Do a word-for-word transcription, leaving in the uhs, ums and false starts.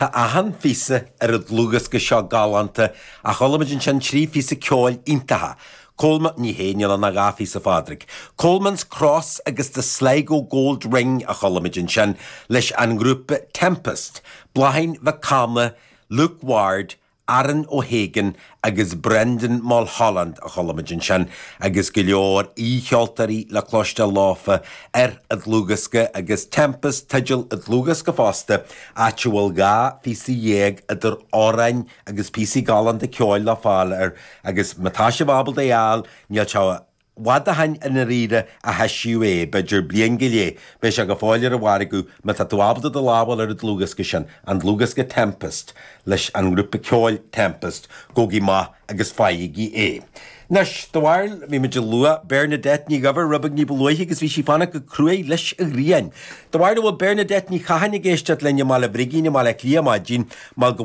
Tá achan phíosa ar an dlúthdhiosca seo galánta ach chuala muid ansin trí phíosa ceoil iontacha. Coleman ní hé níl ann ach dhá phíosa a Phádraig. Coleman's Cross agus the Sligo Gold Ring a chuala muid ansin leis an ngrúpa Tempest, Bláithín Mhic Cana, Luke Ward, Aaron O'Hagan agus Brendan Mulholland a chuala muid ansin agus go leor aoicheoltóirí le cloisteáil leofa ar an dlúthdhiosca agus Tempest teideal an dlúthdhiosca fosta áit a bhfuil dhá phíosa dhéag idir amhráin agus píosaí galánta ceoil le fáil air agus má tá sibh ábalta é a fháil níl sé i bhfad ó shin i ndáiríre a heisíodh é, b'fhéidir bliain go leith, beidh sé go fóill ar an mhargadh má tá tú ábalta do lámh a fháil ar an dlúthdhiosca sin, an dlúthdhiosca Tempest leis an ngrúpa ceoil Tempest, gabhaigí amach agus faighigí é. Anois, do bharúil, bhí muid ag lua Bernadette Ní Dhuibhir rud beag ní ba luaithe agus bhí sí fanacht go cruaidh leis an ghrian. Do bharúil an bhfuil Bernadette Ní Chatháin ag éisteacht linn i mBaile Brigín i mBaile Átha Cliath maidin mar go